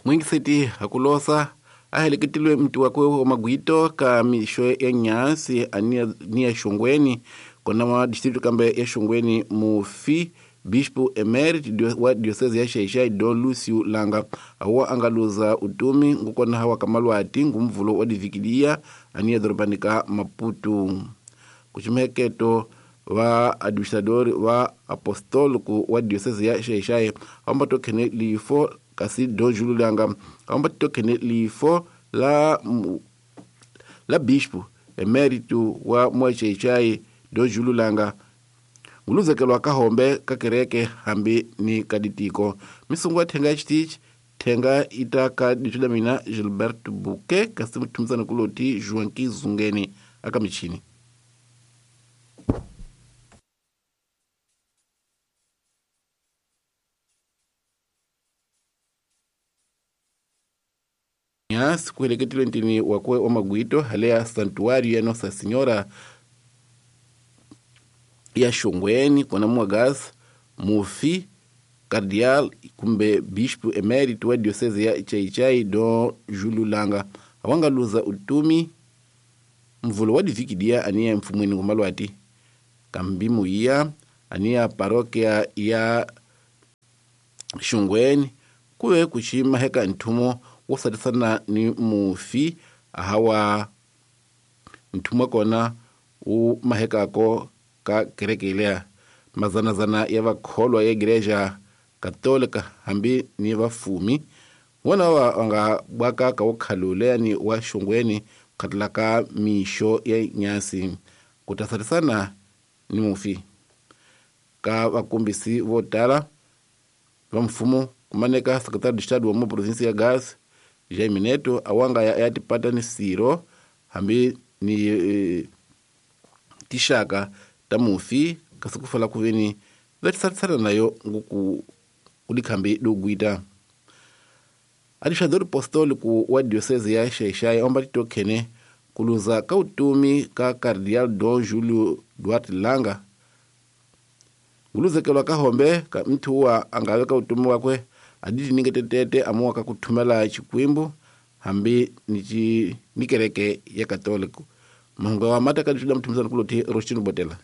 Mwingiseti hakulosa a heleketilwe mti wakwe wa magwito ka mixo ya nyasi ni ya xongweni kona wa distrito kambe ya xongweni mufi bispo emerit wa diocese ya Xai-Xai Don Lucio Langa awa a nga luza utumi ngukona hawa ka malwati ngumvulo wa divikilia aniya dorobani ka Maputo. Kuximeketo va administrador va apostolico wa diocese ya Xai-Xai vamba to khene lifo kasi Don Julio Langa vamba to khene lifo la bispo emeritu wa mwa Xai-Xai Don Julio Langa nguluzekelwa ka hombe ka kereke hambi ni ka ditiko. Misungu ya thenga ya xitichi thenga ita ka ditso la mina Gilbert Bouquet kasi muthumisana kuloti Joaquim Zungeni aka michini. Nyasi kuheleketile ntini wakwe wa magwito hale santuario ya Nossa Senhora ya Xongweni kona Mwagasi mufi cardial kumbe bispo emérito wa diocese ya Xai-Xai Don Julio Langa awanga luza utumi mvulo wa divikidia aniya mfumweni ngumalwati kambi muiya aniya parokia ya Xongweni kuve kuxima heka nthumo wo satisana ni mufi ahawa nthumo kona wu mahekako ka kereke leya mazanazana ya vakholwa ya igreja katolika hambi ni vafumi vona va nga bwaka ka wokhalu leyani wa Xongweni khatla ka mixo ya nyasi ku ta satisana ni mufi ka vakombisi vo tala va mfumo kumaneka secretary de estado wa mo province ya Gas Jaime Neto awanga ya tipata ni siro hambi ni tixaka ta mufi kasi ku fala ku veni va tisatisana nayo nguku kudikhambi dogwita. Administrador apostólico wa diocese ya Xai-Xai omba titokhene kuluza ka utumi ka cardial Don Julio Duarte Langa nguluzekelwa ka hombe ka mthu wa angave ka utumi wakwe aditi ningetetete amuwa ka kuthumela xikwembu hambi ni kereke ya katoliko. Mahungu wa mata ka ditso la muthumisana kuloti Roshtino Botela.